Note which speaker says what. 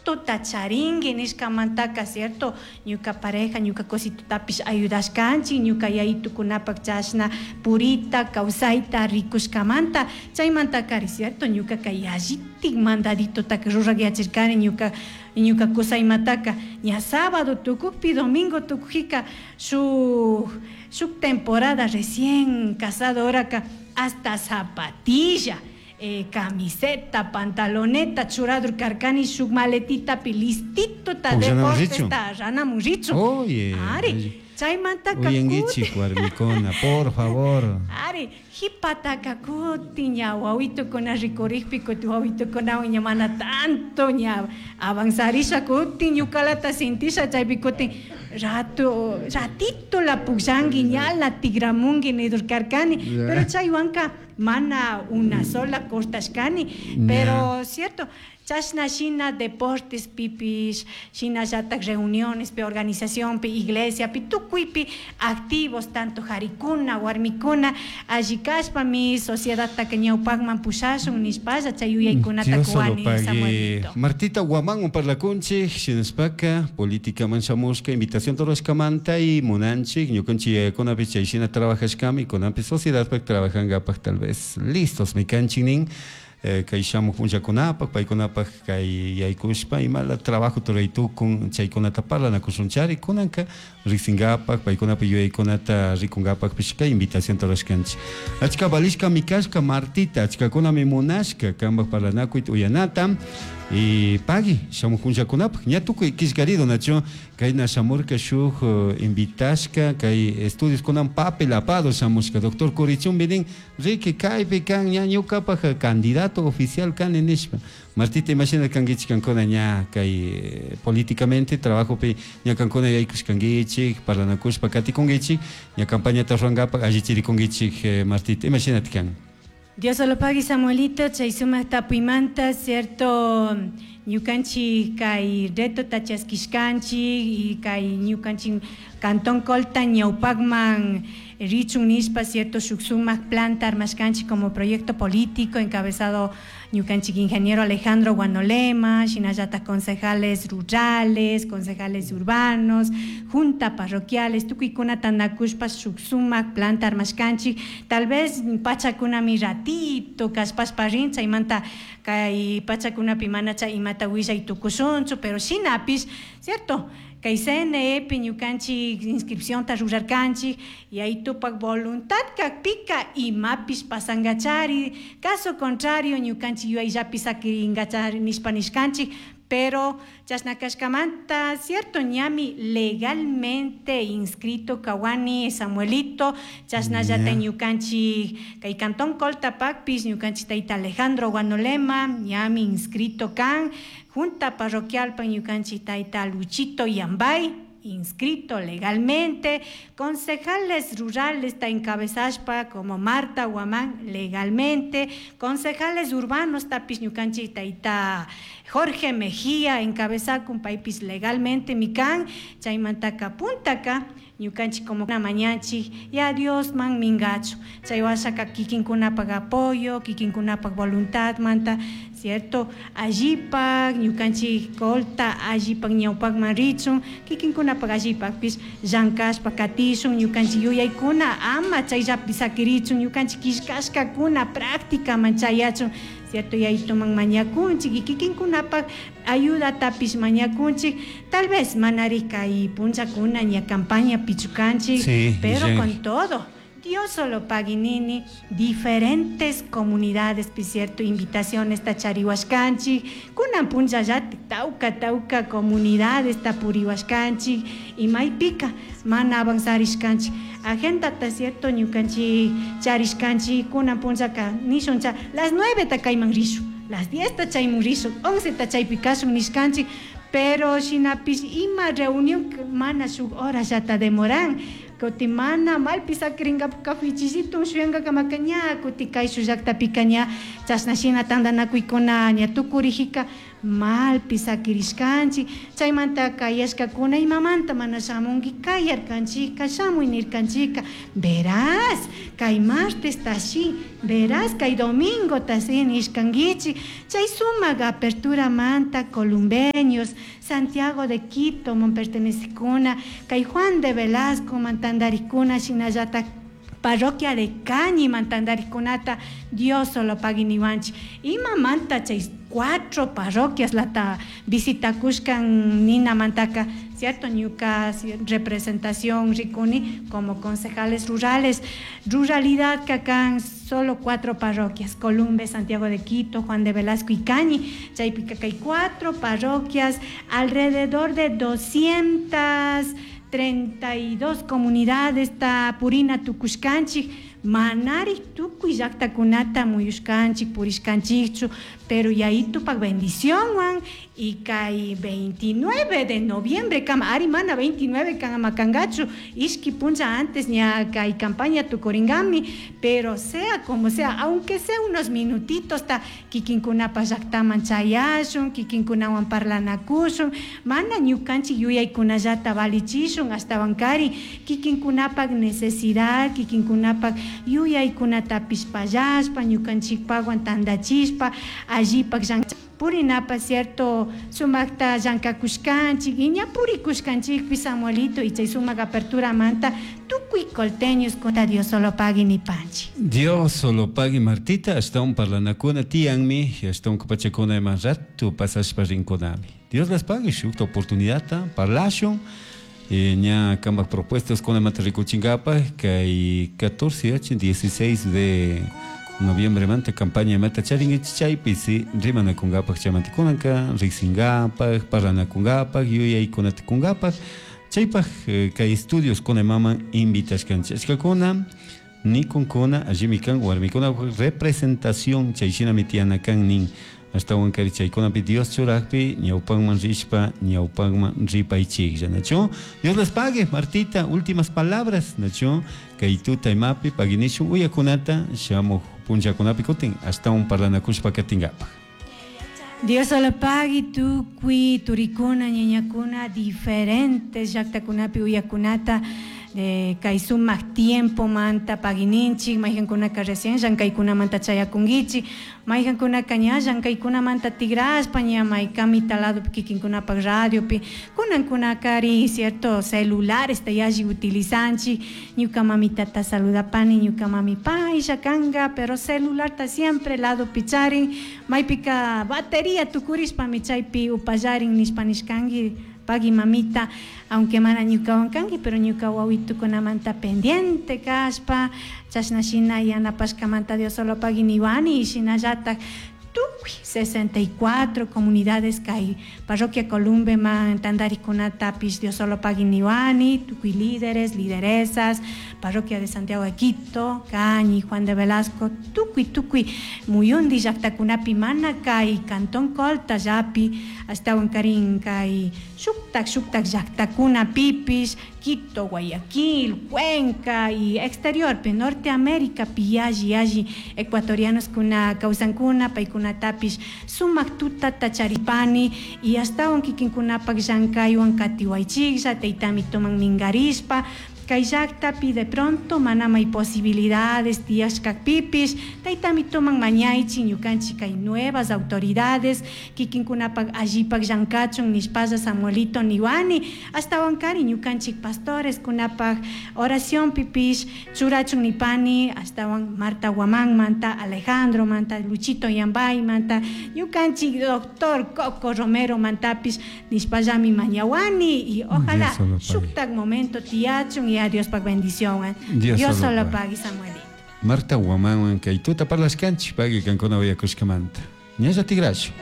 Speaker 1: Mandaditota charingui nishkamantaka, cierto, ñuka pareja, ñuka cositutapish ayudashkanchik, ñuka yayitukunapak chashna purita, kawsayta rikushkamanta, chaymantakari, cierto, ñukaka yallitik mandaditotaka rurakyachirkani ñuka kusaymataka, ña sábado tukukpi, domingo tukujika, shuk temporada recién casado horaka hasta zapatilla, camiseta, pantaloneta, churador karkani, shuk maletitapi listitota deportesta ranamun richu.
Speaker 2: Oye.
Speaker 1: Ari, chaymantaka
Speaker 2: Uyankichik warmikuna, por favor.
Speaker 1: Ari, hipataka kutin ña wawitukuna rikurikpi, kutin wawitukunawan ña mana tanto ña avanzarisha kutin ñukalata sintisha chaypi kutin rato ratito la pukllanki ñala tigramunki nidur karkani, pero chaywanka mana una sola cortashkani, pero cierto, chashna shina deportes pipish, shinallatak reunionespi, organizacionpi, iglesiapi, tukuypi activos tanto jarikuna, warmikuna, alli kashpami sociedadtaka ñawpakman pushashun nishpalla chay yuyaykunata kuwani, Samuelito.
Speaker 2: Martita Guamán parlakunchik, shinashpaka politicaman shamushka invitación rurashkamanta y munanchik ñukanchik yayakunapish chay shina trabajashkami, kunanpi sociedadpak trabajangapak tal vez listos mi kanchik nin. Kay shamuq punllakunapak, paykunapak kay yaykushpa imala trabajo ruraytukun chaykunata parlanakushunchari, kunanka riqsingapak, paykunapak yuyaykunata rikunkapakpish kay invitación rurashkanchik. Achka valishkami kashka Martita, achkakunami munashka kanpak parlanakuyta uyanata y pagui shamuq punllakunapak, ña tukuy killkarido nachu kayna shamurka shuk invitashka kay estudios kunan papel apado shamushka doctor Curichumbi nin riki kaypi kan ña ñukapak candidato oficial kani nishpa. Martita, imashina kankichik kankuna ña kay políticamente trabajopi ña kankuna yaykushkankichik, parlanakushpa katikunkichik, ña campañata rurankapak allichirikunkichik, Martita, imashinata kan?
Speaker 1: Dios lo pague, Samuelito, chay sumak tapuymanta, cierto, ñukanchik kay reto chaskishkanchik y kay ñukanchik Cantón Colta ñawpakman richun nishpa, cierto, shuk sumak planta armashkanchik como proyecto político encabezado ñukanchik ingeniero Alejandro Guanolema, shinallatak concejales rurales, concejales urbanos, junta parroquiales, tukuykuna tanakushpa shuk sumak planta armashkanchik, tal vez pachakunami ratito kashpashpa rin, chaymanta kay pachakunapi mana chay imata willay tukushunchu, pero shinapish, cierto, kay CNE ñukanchik inscripcionta rurarkanchik y ahí tupak voluntad kakpika imapish pasangachari, caso contrario ñukanchik yuyayllapi sakiringachari nishpa nishkanchik, pero chashna kashkamanta, cierto, ñami legalmente inscrito kawani Samuelito, chashnallata ñukanchik kay Cantón Coltapakpish ñukanchik tayta Alejandro Guanolema ñami inscrito kan, junta parroquial pa ñukanchik tayta Luchito Yambay inscrito legalmente, concejales rurales ta encabezashpa como Marta Guamán legalmente, concejales urbanos tapis ñukanchik tayta Jorge Mejía encabezakun paypis legalmente mikan, chaymantaka puntaka ñukanchik como una mañanchik ya Dios man mingachu, chay washaka kikinkunapak apoyo, kikinkunapak voluntad manta, cierto, allipak ñukanchik Colta allipak ñawpakman richun, kikinkunapak allipakpish llankashpa katishun, ñukanchik yuyaykuna ama chayllapi sakirichun, ñukanchik killkashkakuna prácticaman chayachun, cierto, yaytuman mañakunchik y kikinkunapak ayudatapish mañakunchik, tal vez manari kay punllakuna ña campaña pichukanchik,
Speaker 2: sí,
Speaker 1: pero
Speaker 2: sí.
Speaker 1: Con todo, Dios solo paguinini, diferentes comunidades, cierto, invitaciones tacharihuashkanchik, kunan punllallati tauka tauka comunidades tapurihuashkanchik, y maypika mana avanzarishkanchik, agendata cierto ñukanchik charishkanchik, kunan punllaka nishuncha las 9 ta kayman rishun, las 10 ta chaymun rishun, 11 ta chaypi kashun nishkanchik, pero shinapish ima reunión mana shuk hora llata demoran, kuti mana malpi sakirinkapak kafichillito shuyankakamaka ña kuti kay shullakta ña chashna shina tantanakuykuna ña tukurijika Malpi sakirishkanchik, chaymanta kayashkakuna imamanta mana shamunki kayarkanchikka, shamuy nirkanchikka, verás kay martes tashi, verás kay domingo tashi nishkankichik. Chay sumak aperturamanta columbeños, Santiago de Quito man pertenecikuna, kay Juan de Velasco man tantarikuna, shinallatak parroquia de Cañi man tantarikunata Dios solo pagui niwanchik. Imamanta chay 4 parroquias lata visitakushkan ninamantaka, cierto, ñuka representación rikuni como concejales rurales, ruralidad kakan solo 4 parroquias, Columbe, Santiago de Quito, Juan de Velasco y Cañi, chaypika kay 4 parroquias, alrededor de 232 comunidades ta purina tukushkanchik, manari tukuy llaqtakunata muyushkanchik, purishkanchikchu, pero yayitupak bendicionwan y kay 29 de noviembre kama, ari mana 29 kama kangachu, ishki puncha antes ña kay campaña tukuringami, pero sea como sea, aunque sea unos minutitos ta kikinkunapa llaqtaman chayashun, kikinkunawan parlanakushun, mana ñukanchik yuyaykunallata valichishun, ashtawankari kikinkunapak necesidad, kikinkunapak yuyaykunatapish pallashpa, ñukanchikpakwan tantachishpa, allipak llank purinapa, cierto, sumakta llankakushkanchik, y ña purikushkanchikpi, Samuelito, y chay sumak apertura manta, tukuy colteños contra Dios solo pagui ni panchi.
Speaker 2: Dios solo pagui, Martita, hasta un parlanakuna tianmi, hasta un kupachakuna más rato pasashpa rinconami. Dios las pague, shukta oportunidad, parlashun. Ña kambak propuestas con mata rikuchinkapa, kay 14, 8, 16 de noviembre manta campaña mata charingichi chaypi si rimanakunkapak chamantikunaka, riksinkapak, parlanakunkapak, yuyaykunatikunkapak, chaypak kay estudios con mama invitashkanchik. Ashkakuna nikunkuna allimi kan warmikuna representación chayshinami tiyana kan nin. Ashtawan kari chaykunapi Dios churakpi ñawpanman rishpa ñawpanman ripaychiklla, nachu? Dios les pague, Martita, últimas palabras, nachu? Kay tuta imapi paginishun uyakunata shamuj punllakunapi kutin ashtawan parlanakushpa katinkapak.
Speaker 1: Dios solo pagui tukuy turikuna ñañakuna diferentes llaqtakunapi uyakunata kay sumak tiempo manta pagininchik, mayqankunaka recién llankaykunamanta chayakunkichik, mayqankunaka ña llankaykunamanta tigrashpa ña maykamita ladopi kikinkunapak radiopi, kunankunakari cierto celulares ta yalli utilizanchik, ñuka mamitata saludapani, ñuka mami paylla kanka, pero celularta siempre ladopi charin, maypika batería tukurishpami chaypi upallarin nishpa nishkanki, pagui mamita, aunque mana ñukawan kanki, pero ñuka wawitukunamanta pendiente kashpa, chashna shina yanapashkamanta Dios solo pagui niwani, shinallatak tukuy 64 comunidades kay parroquia Columbe man tantarikunatapish Dios solo pagui niwani, tukuy líderes, lideresas, parroquia de Santiago de Quito, Cañi, Juan de Velasco, tukuy, tukuy, muyundi llaqtakunapi mana kay Cantón Colta llapi, ashtawan karin kay shuktak, shuktak llaqtakunapipish, Quito, Guayaquil, Cuenca y exterior, pe Norteamérica, pi yalli, yalli, ecuatorianos kuna kawsankuna, paykunatapish sumak tutata charipani y ashtawan kikinkunapak llankaywan katiwaychiklla, taytami toman mingarishpa, kay llaqtapi de pronto manamay posibilidades tiyashkakpipish, taytami toman mañaychi ñukanchik kay nuevas autoridades kikinkunapak allipak llankachun nishpalla Samuelito niwani, ashtawan kari ñukanchik pastores kunapak oración pipish churachun nipani, ashtawan Marta Guamán manta, Alejandro manta, Luchito Yambay manta, ñukanchik doctor Coco Romero mantapish nishpallami mañawani y ojalá shuktak momento tiyachun y a Dios pa bendición.
Speaker 2: Dios,
Speaker 1: Dios solo pague, Samuelito.
Speaker 2: Marta Guamán, kay tuta parlashkanchik, pagui kankuna uyakushkamanta. Ñalla tigrachu.